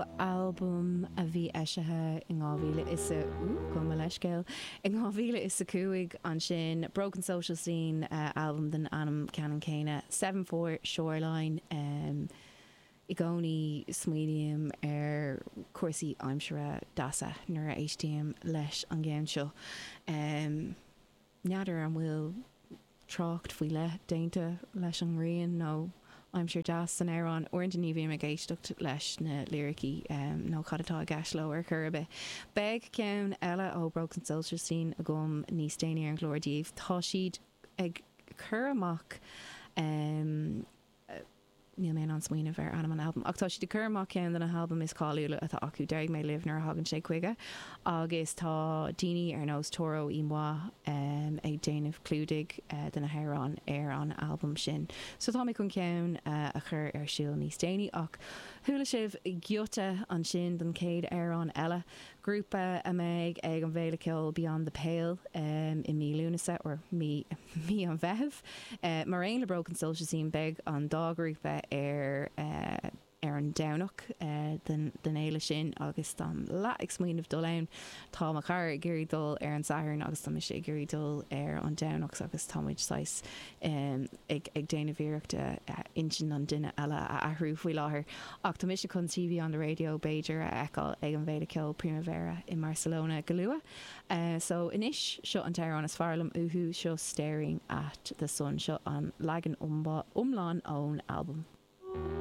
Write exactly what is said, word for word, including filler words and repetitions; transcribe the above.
ó albam a bhí eisithe in dhá mhíle is a gabh mo leithscéal in dhá mhíle is a cúig ansin Broken Social Scene albam den ainm ceannann céanna Seven Four Shoreline um, I gcónaí smaoiním ar cúrsaí aimsire deasa nuair a éistím leis an gceann seo. Um, N'fheadar an bhfuil trácht faoi leith déanta leis an ngrian nó aimsir deas san amhrán. Uaireanta ní bhím ag éisteacht leis na liricí um, nó cad atá i gceist leo ar chor ar bith. Beidh ceann eile ó Broken Social Scene agam níos déanaí ar an gclár daoibh. Tá siad ag cur amach um, níl mé in ann smaoineamh ar ainm an albam, ach tá siad ag cur amach ceann de na halbaim is cáiliúla atá acu Déarfaidh mé libh nuair a thagann sé chuige agus tá daoine ar nós Toro y Moi um, ag déanamh clúdaigh uh, de na hamhráin ar an albam sin. So tá mé chun ceann uh, a chur ar siúl níos déanaí ach chuala sibh giota ansin den chéad amhrán eile, grúpa a mbeidh ag an bhféile ceoil Beyond the Pale um, i mí Lúnasa or mí mí an Mheithimh. Uh, mar aon le Broken Social Scene beidh an dá grúpa ar uh, ar an Domhnach uh, den, den fhéile sin agus táim leath ag smaoineamh dul ann tá mo chara ag iarraidh dul ar an Satharn agus tá mise ag iarraidh dul ar an Domhnach agus táimid saghas um, ag, ag déanamh iarrachta uh, intinn an duine eile a athrú faoi láthair. Ach tá mise chun TV on the radio b'fhéidir a fheiceáil ag an bhféile ceoil Primavera i Barcelona go luath. Uh, so anois seo an t-amhrán is fearr liom uathu seo Staring at the Sun seo an leagan iomlán ón albam.